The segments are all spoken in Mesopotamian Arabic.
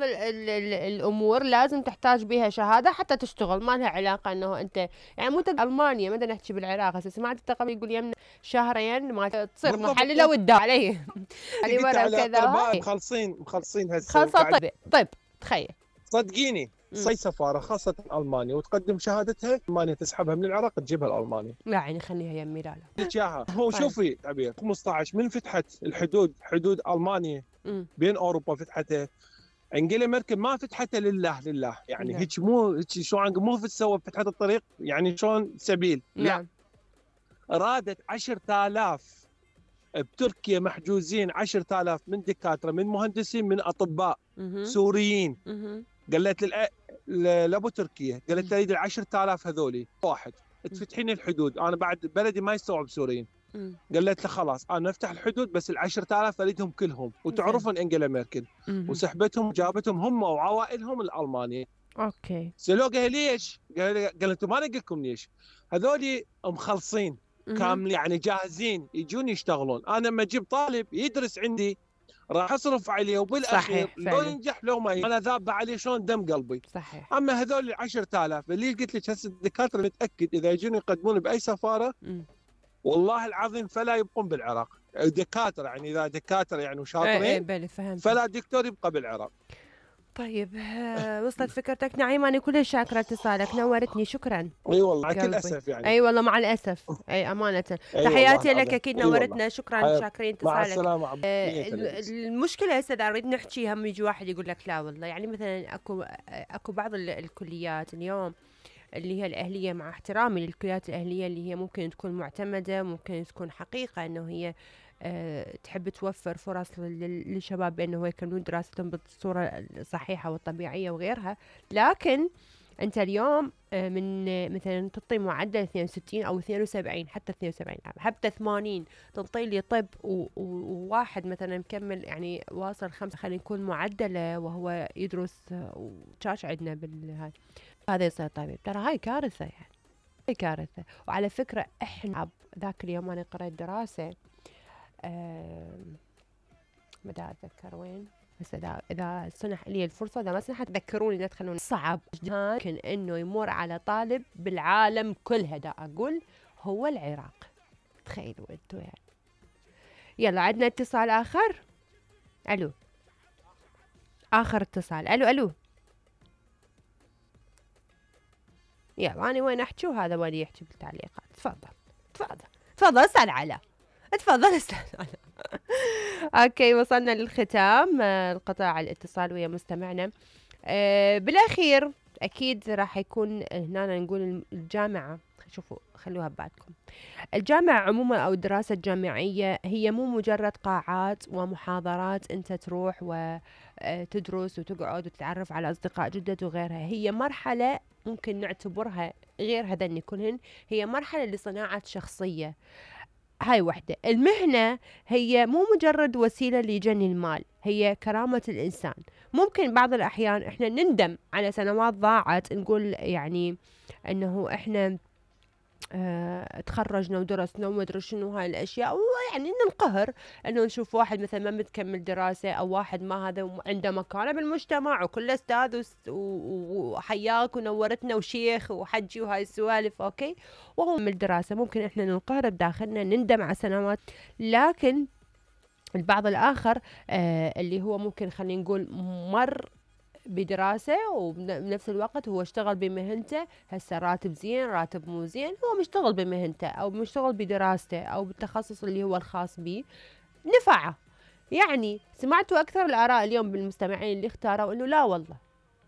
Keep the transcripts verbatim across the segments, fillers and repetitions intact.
بعض ال ال ال الامور لازم تحتاج بها شهاده حتى تشتغل، ما لها علاقه انه انت يعني مو المانيا ما بدنا نحكي بالعراق. هسه سمعت انت قبل يقول يمنا شهرين ما تصير محلله وتداوم علي علي قلت ورا على وكذا اطباء هاي مخلصين مخلصين هسه خلصه وقاعد. طب طب تخيل صدقيني صي سفاره خاصه المانيا وتقدم شهادتها، المانيا تسحبها من العراق تجيبها لالمانيا. لا يعني خليها يمي لا لا لك اياها. هو طيب. شوفي تعبير خمسطعش من فتحت الحدود، حدود المانيا مم. بين اوروبا فتحتها، انجيلا ميركل ما فتحتها لله لله يعني نعم. هيك مو هيك شلون مو تسوى فتحت الطريق يعني شلون سبيل. نعم. لا ارادت عشرة آلاف بتركيا محجوزين، عشرة آلاف من دكاتره من مهندسين من اطباء مهم. سوريين. مهم. قالت للأ... لابو تركيا قالت له اريد ال عشرة آلاف هذولي واحد تفتحين الحدود، انا بعد بلدي ما يستوعب سوريين. مم. قالت له خلاص انا افتح الحدود بس ال عشرة آلاف اريدهم كلهم، وتعرفون انجيلا ميركل مهم. وسحبتهم وجابتهم هم وعوائلهم لالمانيا. اوكي سالوه قال ليش؟ قال قال انتم ما نقول لكم ليش؟ هذولي مخلصين مهم. كامل يعني جاهزين يجون يشتغلون، انا لما اجيب طالب يدرس عندي راح اصرف عليه وبالاخير صحيح لو فعلا. ينجح لو ما ينجح انا ذاب عليه شلون دم قلبي. صحيح. اما هذول ال عشرة آلاف اللي قلت لك هسه الدكاتره متاكد اذا يجون يقدمون باي سفاره مم. والله العظيم فلا يبقون بالعراق دكاتره، يعني اذا دكاتره يعني ايه ايه وشاطرين بلي فهمت. فلا دكتور يبقى بالعراق. طيب آه، وصلت فكرتك نعيم، انا كلش شاكره اتصالك، نورتني شكرا. اي والله مع كل قلبي. اسف يعني. اي والله مع الاسف اي امانه. أي تحياتي والله لك اكيد أي والله. نورتنا شكرا حياتي. شاكرين مع اتصالك. السلامه عبد آه، المشكله هسه اذا نريد نحكي هم يجي واحد يقول لك لا والله، يعني مثلا اكو اكو بعض ال- الكليات اليوم اللي هي الأهلية، مع احترامي للكليات الأهلية اللي هي ممكن تكون معتمدة، ممكن تكون حقيقة أنه هي أه تحب توفر فرص لل- للشباب بأنه يكملون دراستهم بالصورة الصحيحة والطبيعية وغيرها. لكن أنت اليوم أه من آه، مثلا تعطي معدل اثنين وستين أو اثنين وسبعين، حتى اثنين وسبعين حتى ثمانين، تعطي لي طب و- و- وواحد مثلا مكمل يعني واصل خمسة خلينا نقول معدله وهو يدرس آه، وشاش عندنا بالهاي، هذا يصير طبيب. ترى هاي كارثة يعني، هاي كارثة. وعلى فكرة احنا ذاك اليوم انا قرأت دراسة ما دا اتذكر وين، بس اذا اذا سنح لي الفرصة، اذا ما سنحت ذكروني لا تخلوني. صعب ممكن انه يمر على طالب بالعالم كلها، دا اقول هو العراق. تخيلوا انتوا يعني. يلا عندنا اتصال اخر. الو اخر اتصال. الو الو يلا أنا وين أحكي وهذا وين يحكي بالتعليقات. تفضل تفضل تفضل اسأل على تفضل اسأل على أوكي وصلنا للختام. آه، القطاع الاتصال ويا مستمعنا. آه، بالأخير أكيد راح يكون هنا نقول الجامعة، شوفوا خلوها ببالكم، الجامعة عموما أو الدراسة الجامعية هي مو مجرد قاعات ومحاضرات أنت تروح وتدرس وتقعد وتتعرف على أصدقاء جدد وغيرها. هي مرحلة ممكن نعتبرها غير هذن كلهن، هي مرحلة لصناعة شخصية. هاي وحدة. المهنة هي مو مجرد وسيلة لجني المال، هي كرامة الإنسان. ممكن بعض الأحيان إحنا نندم على سنوات ضاعت، نقول يعني أنه إحنا اه تخرجنا ودرسنا وما ادري شنو هاي الاشياء، ويعني ننقهر انه نشوف واحد مثلا ما متكمل دراسه او واحد ما هذا عنده مكانه بالمجتمع وكله استاذ وس- و- وحياك ونورتنا وشيخ وحجي وهاي السوالف، اوكي، وهو من الدراسه ممكن احنا ننقهر بداخلنا نندم على سنوات. لكن البعض الاخر آه اللي هو ممكن خلينا نقول مر بدراسة وبنفس الوقت هو اشتغل بمهنته، هسه راتب زين راتب مو زين، هو مشتغل بمهنته أو مشتغل بدراسته أو بالتخصص اللي هو الخاص به نفعه. يعني سمعتوا أكثر الآراء اليوم بالمستمعين اللي اختاروا إنه لا والله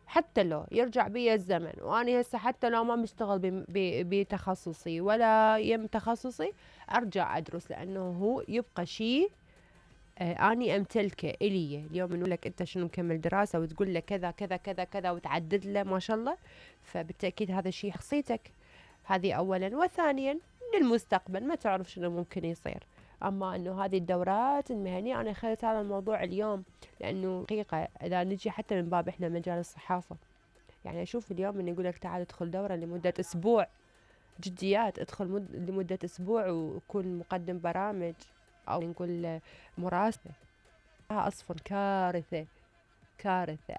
حتى لو يرجع بي الزمن وأنا هسه حتى لو ما مشتغل بم- ب- بتخصصي ولا يم تخصصي أرجع أدرس، لأنه هو يبقى شيء آه، اني امتلكه الي. اليوم نقول لك انت شنو مكمل دراسه وتقول له كذا كذا كذا كذا وتعدد له ما شاء الله، فبالتاكيد هذا شيء شخصيتك. هذه اولا. وثانيا للمستقبل ما تعرف شنو ممكن يصير. اما انه هذه الدورات المهنيه انا اخذت هذا الموضوع اليوم لانه حقيقه اذا نجي حتى من باب احنا مجال الصحافه، يعني اشوف اليوم انه يقول لك تعال ادخل دوره لمده اسبوع، جديات ادخل مد... لمده اسبوع وكون مقدم برامج او نقول مراسلة. اصفر كارثة كارثة.